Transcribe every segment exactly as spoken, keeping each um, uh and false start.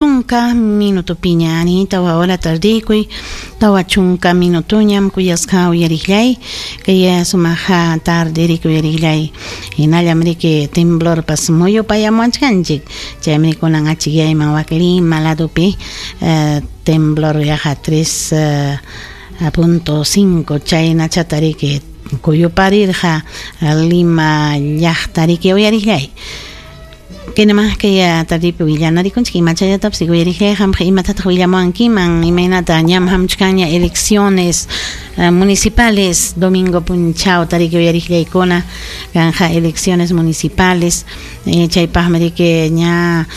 Chunka minutupiña ari tawa hora tardikuy tawa chunka minutuñam kuyasqa uyariqllay kay sumaq tarde riki uyariqllay hinallam riki temblorpas muyupayamuwachkanchik chaymi kunan achikyayman wak Lima ladopi temblor yaqa tres punto cinco chaynachata riki kuyuparirqa Lima llaqta riki uyariqllay. Kaynaman kay tardipi willanarikunchik imachallatapas uyariqllay qamqa imatataq willamuwankiman imaynata ñam hamuchkanña elecciones municipales domingo punchawta riki uyariqllaykuna kanja elecciones municipales chaypaqmi riki ña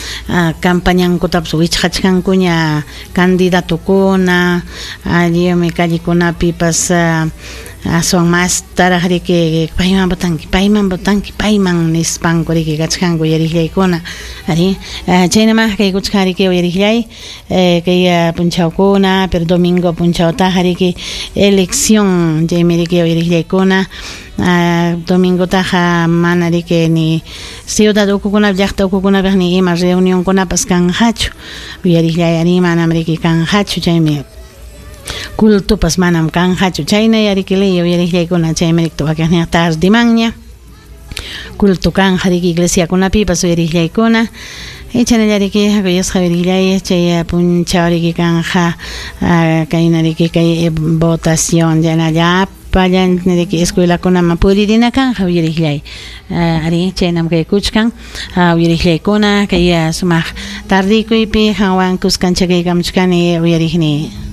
campañankutapas wichqachkankuña candidatukuna allimi callekunapipas aswan mastaraq riki payman votanki payman votanki payman nispanku riki kachkanku uyariqllaykuna ari chaynaman kaykuchkan riki uyariqllay kay punchawkuna pero domingo punchawtaqa riki elección chaymi riki uyariqllaykuna domingotaqa mana riki ni ciudad ukukunapi llaqta ukukunapiq ni ima reunionkunapas kanqachu uyariqllay ari manam riki kanqachu chaymi cultupas manam kanqachu chayna riki ley uyariqllaykuna chaymi riki wakiqninqa tardimanña culto kanja riki iglesiakunapipas uyariqllaykuna chaynalla riki kuyasqa uyariqllay chay punchaw riki kanja kayna riki kay votación chaynalla llapallan riki escuelakunaman puririna kanja uyariqllay ari chaynam kaykuchkan uyariqllaykuna kay sumaq tardikuypi qanwan kuskancha kaykamuchkani uyariqni.